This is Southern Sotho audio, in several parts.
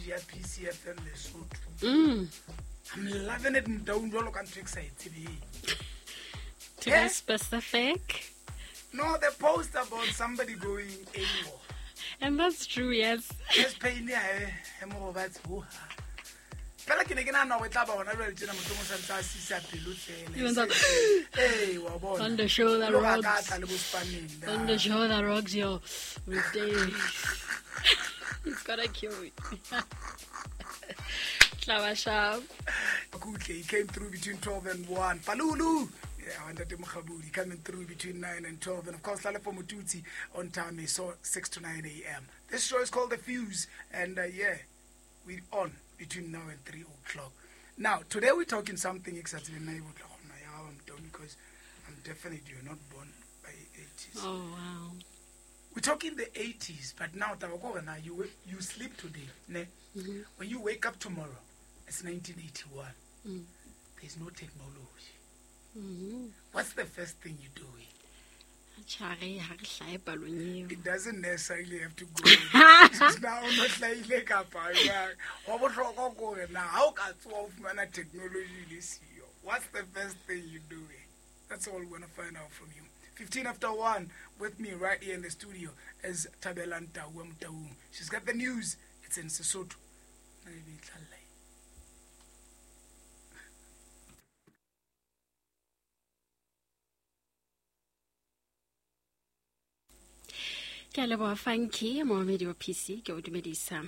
page ya PCFM Lesotho. I'm loving it, Motaung, jwalo ka ntho e ke sa e tsebeng. To be specific. No, the post about somebody going AWOL. And that's true, yes. Yes, pain ya he mo robatse ho ha. Fela ke ne ke nahana hore e tla ba hona jwale tjena mohlomong sa ntse a sisa pelo fela. Ee, wa bona. On the show that Le hore a ka rocks. tla le bo Spaneng, da. On the show that rocks your day. He's gonna kill me. Tla sharp. Kutle, he came through between 12 and 1. Palulu! Yeah, Ntate Mokgabudi coming through between 9 and 12. And of course, Lalefo Motutsi on time, so 6 to 9 a.m. This show is called The Fuse. And yeah, we're on between now and 3 o'clock. Now, today we're talking something exactly because I'm definitely you're not born by 80s. Oh, wow. We're talking the 80s, but now, now you sleep today. Ne? Mm-hmm. When you wake up tomorrow, it's 1981. Mm. There's no technology. Mm-hmm. What's the first thing you doing? It doesn't necessarily have to go. Now, not like technology this year. What's the first thing you're doing? That's all we're going to find out from you. 15 after 1 with me right here in the studio is Thabelang Tau Motaung. She's got the news. It's in Sesotho. Ke a leboha Funky, moamedi wa PC, ke o dumedisa.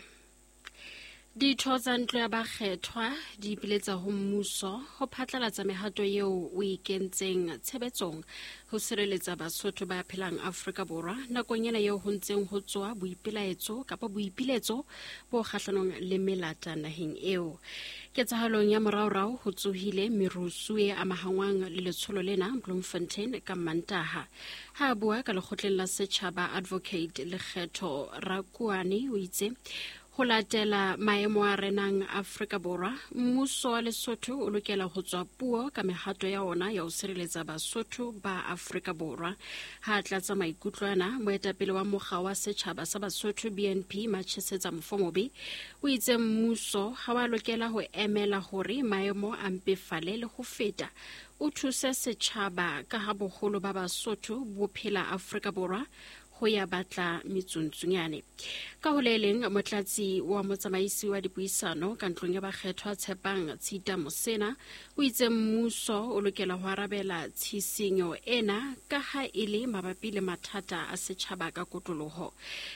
Ditho tsa ntlo ya bakgethwa di ipiletsa ho mmuso ho phatlalatsa mehato eo o e kentseng tshebetsong ho sireletsa Basotho ba phelang Afrika Borwa nakong ena eo ho ntseng ho tswa boipelaetso kapa boipiletso bo kgahlanong le melata naheng eo. Ketsahalong ya moraorao ho tsohile merusu e amahangwang le letsholo lena Bloemfontein ka Mantaha. Ha a bua ka lekgotleng la setjhaba, Advocate Lekgetho Rakuane o itse ho latela maemo a renang Afrika Borwa, mmuso wa Lesotho o lokela ho tswa puo ka mehato ya ona ya ho sireletsa Basotho ba Afrika Borwa. Ha a tlatsa maikutlo ana, moetapele wa mokga wa setjhaba sa Basotho BNP Machesetsa Mofomobe o itse mmuso ha wa lokela ho emela hore maemo a mpefale le ho feta, o thuse setjhaba ka ha boholo ba Basotho bo phela Afrika Borwa ho ya batla metsuntsunyane. Ka ho le leng, motlatsi wa motsamaisi wa dipuisano ka ntlong ya bakgethwa Tshepang Tshita Mosena o itse mmuso o lokela ho arabela tshisinyo ena ka ha e le mabapi le mathata a setjhaba ka kotloloho.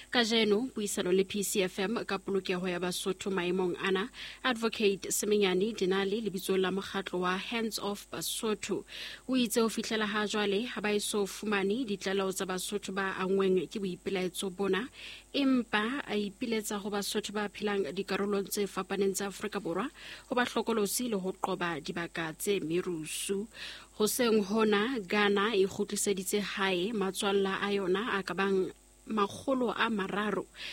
Kajeno puisano le PCFM ka polokeho ya Basotho maemong ana, Advocate Semenyane Dinale lebitsong la mokgatlo wa Hands Off Basotho o itse ho fihlela ha jwale ha ba eso fumane ditlaleho tsa Basotho ba angweng ke boipelaetso bona, empa a ipiletsa ho Basotho ba phelang dikarolong tse fapaneng tsa Afrika Borwa ho ba hlokolosi le ho qoba dibaka tse merusu. Hoseng hona, Ghana e kgutliseditse hae matswalla a yona a ka bang 300.